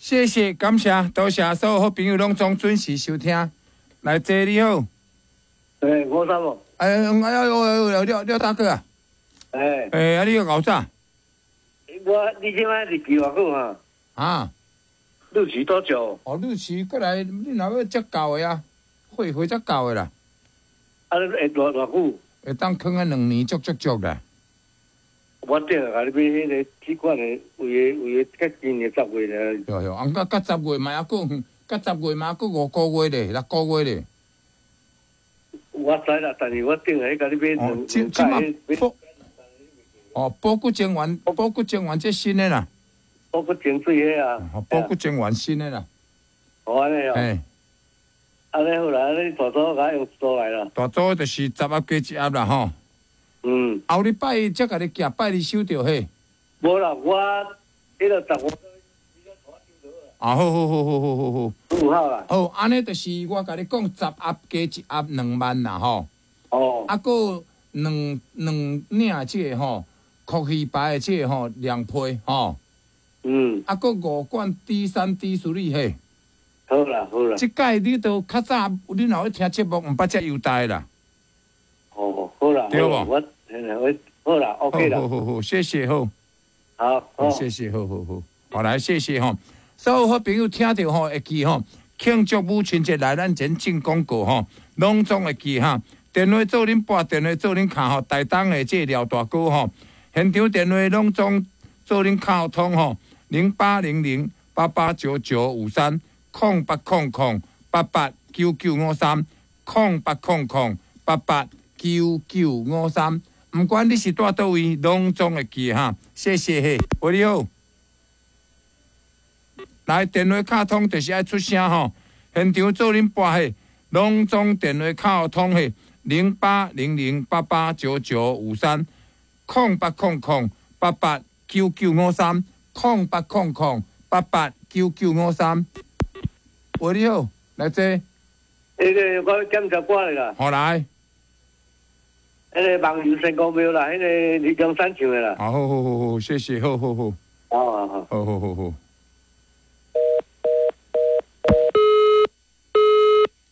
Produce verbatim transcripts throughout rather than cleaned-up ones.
謝謝，感謝，多謝所有好朋友攏總準時收聽。來，坐你好。欸，吳三哦。哎哎呦，廖廖大哥啊。欸。欸，啊，你𠢕啥？我，你這擺日期偌久啊？啊？日期多久？哦，日期過來，你若欲才夠的啊，歲歲才夠的啦。啊，你會偌偌久？會當囥啊兩年，足足足啦。我頂下共你買彼个這款的，為個為個較近的十月爾。對對，啊，到到十月嘛猶閣，到十月嘛猶閣五個月咧，六個月咧。我知啦，但是我頂下共你買兩兩擺。哦，保骨精丸，保骨精丸這新的啦。保骨精水彼啊。保骨精丸新的啦。哦，按呢哦。嘿。按呢好啦，按呢大組共用一組來啦。大組就是十盒加一盒啦，吼。嗯。後禮拜才共你寄，拜二收著嘿。無啦，我彼个十五。啊，好好好好好好好。有好啦。好，按呢就是我共你講，十盒加一盒兩萬啦，吼。哦。啊，閣兩兩領這个吼，國魚牌的這个吼，兩批吼。嗯。啊，閣五罐 D 三 D 處理嘿。好啦好啦。這擺你都較早，你若欲聽節目，毋捌遮優待啦。哦，好啦。對無？我，我好啦，OK 啦。好好好，謝謝好。好，好，謝謝，好好好，好來，謝謝吼。所有好朋友聽著吼，會記吼，慶祝母親節來咱前進廣告吼，攏總會記哈。電話做恁撥，電話做恁敲吼，台東的這個廖大哥吼，現場電話攏總做恁敲通吼，零八零零八八九九五三，空八空空八八九九五三，空八空空八八九九五三。毋管你是蹛佗位，攏總會記哈。謝謝嘿，喂，你好。來，電話敲通就是愛出聲吼，現場做恁撥嘿，攏總電話敲通嘿，零八零零八八九九五三，空八空空八八九九五三，空八空空八八九九五三。喂，你好，來坐。彼个我檢查過來啦。好來。彼個網遊仙公廟啦，彼个李江山唱的啦。好好好好，謝謝，好好好。好好好。好好好好。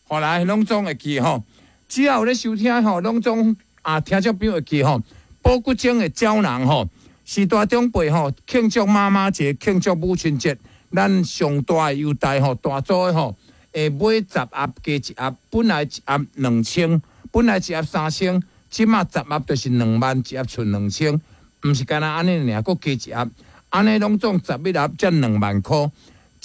後來攏總會記吼，只要有咧收聽吼，攏總啊聽眾朋友會記吼，保骨精的膠囊吼，是大長輩吼慶祝媽媽節、慶祝母親節，咱上大的優待吼，大組的吼，會買十盒加一盒，本來一盒兩千，本來一盒三千，這馬十盒就是兩萬，一盒賰兩千，毋是干焦按呢爾，閣加一盒，按呢攏總十一盒才兩萬箍。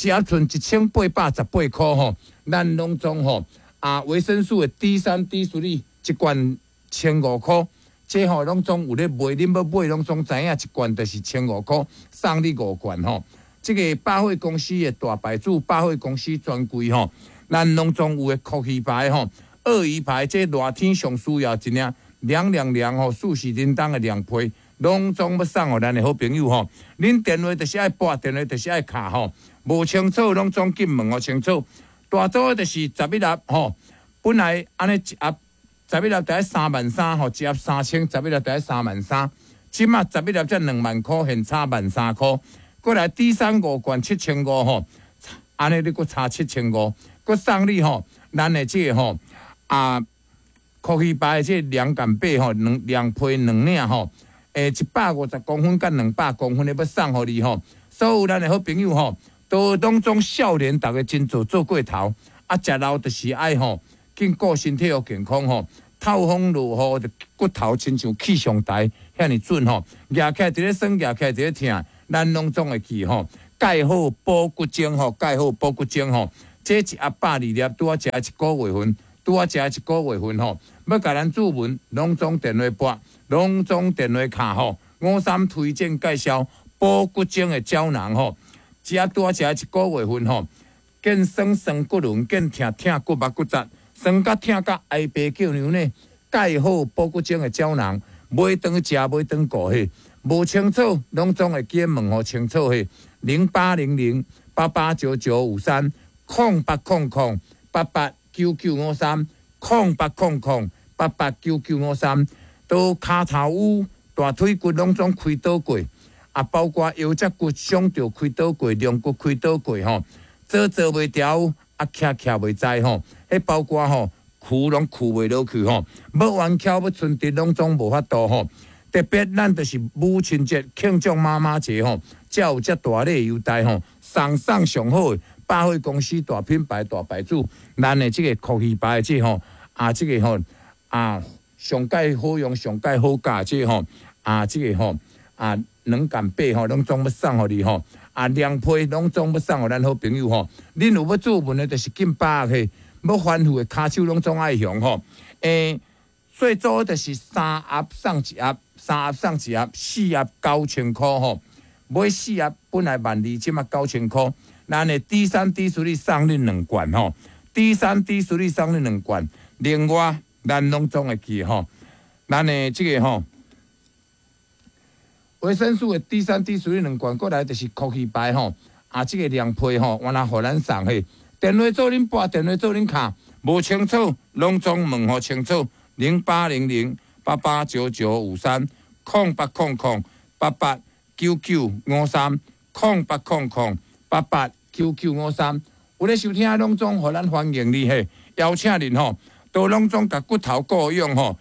一盒賰一千八百十八箍吼，咱攏總吼啊維生素的 D 三 D 四一罐千五箍，這吼攏總有咧賣，恁欲買攏總知影，一罐就是千五箍，送你五罐吼。這个百貨公司的大牌子，百貨公司專櫃吼，咱攏總有的國魚牌吼，鱷魚牌，這熱天上需要一領涼涼涼吼，四時叮當的涼皮，攏總欲送予咱的好朋友吼。恁電話就是愛撥，電話就是愛敲吼。無清楚，攏總緊問予清楚。大組就是十一盒吼，本來按呢一盒十一盒著愛三萬三吼，一盒三千，十一盒著愛三萬三。這馬十一盒才兩萬箍，現差萬三箍。過來 D 三五罐七千五吼，按呢你閣差七千五，閣送你吼，咱的這個吼啊，國魚牌的這涼感被吼，兩兩批兩領吼，欸，一百五十公分佮兩百公分的欲送予你吼，所有咱的好朋友吼。都攏總少年，逐家真做做過頭，啊，食老就是愛吼，緊顧身體予健康吼。透風落雨，骨頭親像氣象台遐爾準吼，舉起來佇咧酸，舉起來佇咧疼，咱攏總會記吼。蓋好保骨精吼，蓋好保骨精吼，這一盒百二粒，拄仔食一個月份，拄仔食一個月份吼。欲共咱注文，攏總電話撥，攏總電話敲吼。五三推薦介紹保骨精的膠囊吼。一盒拄仔食一個月份吼，見酸酸骨輪，見疼疼骨肉骨節，酸甲疼甲哀爸叫娘呢。蓋好保骨精的膠囊，買當食，買當顧嘿，無清楚，攏總會記問予清楚嘿。零八零零八八九九五三，空八空空八八九九五三，空八空空八八九九五三，都跤頭趺、大腿骨攏總開刀過。啊，包括腰脊骨傷著開刀過，龍骨開刀過吼，坐坐袂牢，啊，徛徛袂知吼，彼包括吼，跍攏跍袂落去吼，欲彎翹欲伸直攏總無法度吼。特別咱就是母親節慶祝媽媽節吼，才有遮大禮優待吼，送送上好的百貨公司大品牌大牌子，咱的這個酷魚牌的這吼，啊，這個吼，啊，上蓋好用上蓋好價這吼，啊，這個吼，啊，兩萬八吼，攏總欲送予你吼，啊，涼被攏總欲送予咱好朋友吼。恁有欲注文的，就是緊把握嘿，欲吩咐的跤手攏總愛雄吼。欸，細組就是三盒送一盒，三盒送一盒，四盒九千箍吼。買四盒本來萬二，這馬九千箍。咱的 D 三 D 處理送恁兩罐吼，D 三 D 處理送恁兩罐。另外，咱攏總會記吼，咱的這個吼，維生素的 D 三 D 處理兩罐，過來就是酷魚牌吼，啊，這個涼被吼，原來予咱送嘿。電話做恁撥，電話做恁敲，無清楚，攏總問予清楚。零八零零八八九九五三，空八空空八八九九五三，空八空空八八九九五三。有咧收聽，攏總予咱歡迎你嘿，邀請恁吼，都攏總共骨頭顧養吼。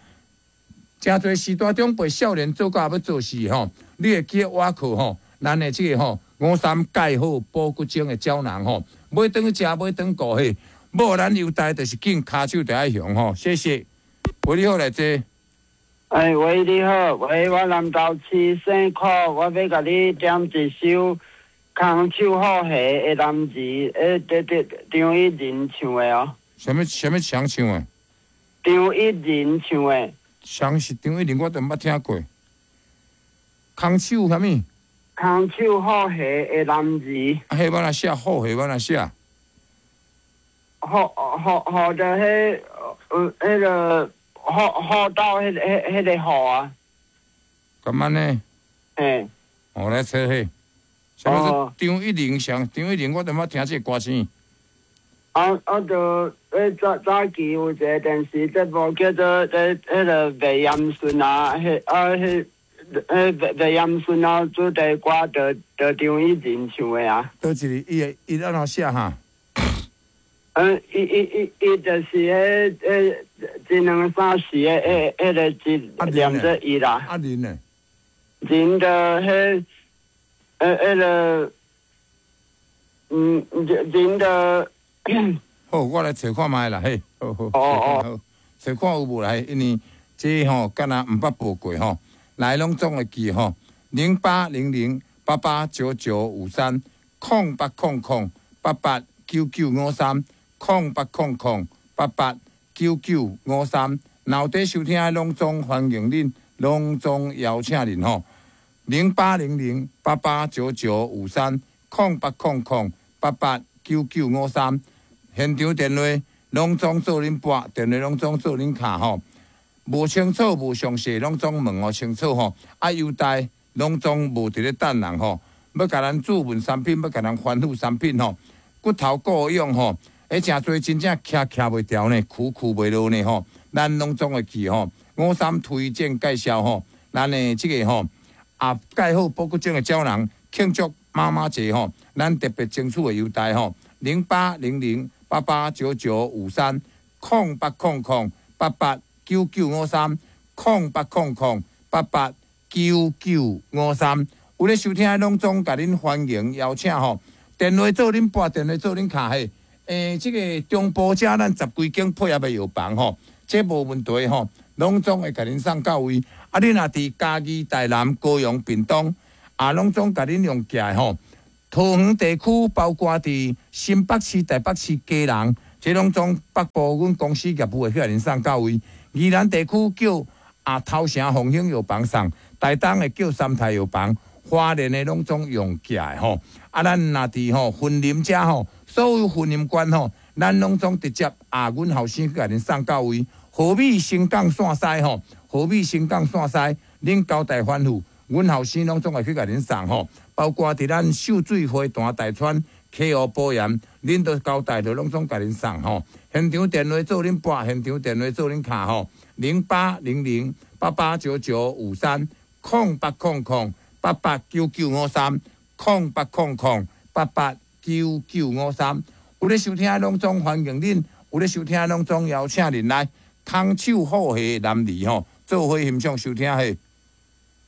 誠濟序大長輩少年做到欲做事吼，你會記得倚靠吼，咱的這個吼五三鈣好補骨精的膠囊吼，買轉去食，買轉顧嘿，無咱優待就是緊跤手就愛雄吼，謝謝。喂，你好，來坐。哎，喂，你好，喂，我南投市姓柯，我欲共你點一首空手好戲的男兒，欸，對對，張一仁唱的哦。啥物啥物誰唱的？張一仁唱的。誰是張一仁？我都毋捌聽過。空手啥物？空手好戲的男兒。啊，彼欲按怎寫？好戲欲按怎寫？好好好的，彼呃，彼個好好到彼彼彼個好啊。敢按呢？嘿。我來揣彼。啥物張一玲上？張一玲，我都毋捌聽這個歌星。啊啊！就彼早早期有一個電視節目叫做彼彼个麥炎順啊，彼啊彼彼麥麥炎順啊，主題歌就就張一仁唱的啊。佗一个？伊會伊按怎寫哈？嗯，伊伊伊伊就是彼彼一兩三四的彼彼个字念做伊啦。啊仁呢？仁就彼彼彼个，嗯，仁就。好，我來揣看覓啦，嘿，好好，哦哦，揣看有無來，因為這吼敢若毋捌報過吼，來攏總會記吼，零八零零八八九九五三，空八空空八八九九五三，空八空空八八九九五三，若有佇收聽的攏總歡迎恁，攏總邀請恁吼，零八零零八八九九五三，空八空空八八九九五三，現場電話攏總做恁撥，電話攏總做恁敲吼，無清楚無詳細，攏總問予清楚吼。啊，優待攏總無佇咧等人吼，欲共咱注文產品，欲共咱翻覆產品吼，骨頭顧養吼，欸，誠濟真正徛徛袂牢呢，跍跍袂落呢吼，咱攏總會記吼。五三推薦介紹吼，咱的這個吼，啊，鈣好補骨精的膠囊慶祝媽媽節吼，咱特別爭取的優待吼，零八零零八八九九五三，空八空空八八九九五三，空八空空八八九九五三，有咧收聽的攏總共恁歡迎邀請吼，電話做恁撥，電話做恁敲嘿，欸，這個中部遮咱十幾間配合的藥房吼，這無問題吼，攏總會共恁送到位。啊，恁若佇嘉義、台南、高雄、屏東，啊，攏總共恁用寄的吼。桃園地區包括佇新北市、台北市、基隆，這攏總北部阮公司業務會去共恁送到位。宜蘭地區叫啊頭城鳳興藥房送，台東的叫三泰藥房，花蓮的攏總用寄的吼。啊，咱若佇吼雲林遮吼，所有雲林縣吼，咱攏總直接啊，阮後生去共恁送到位。和美新港線西吼，和美新港線西，恁交代吩咐，阮後生攏總會去共恁送吼。包括佇咱秀水花壇大川溪湖保鹽，恁都交代就攏總共恁送吼。現場電話做恁撥，現場電話做恁敲吼，零八零零八八九九五三，空八空空八八九九五三，空八空空八八九九五三。有咧收聽攏總歡迎恁，有咧收聽攏總邀請恁來空手好戲男兒吼，做伙欣賞收聽戲。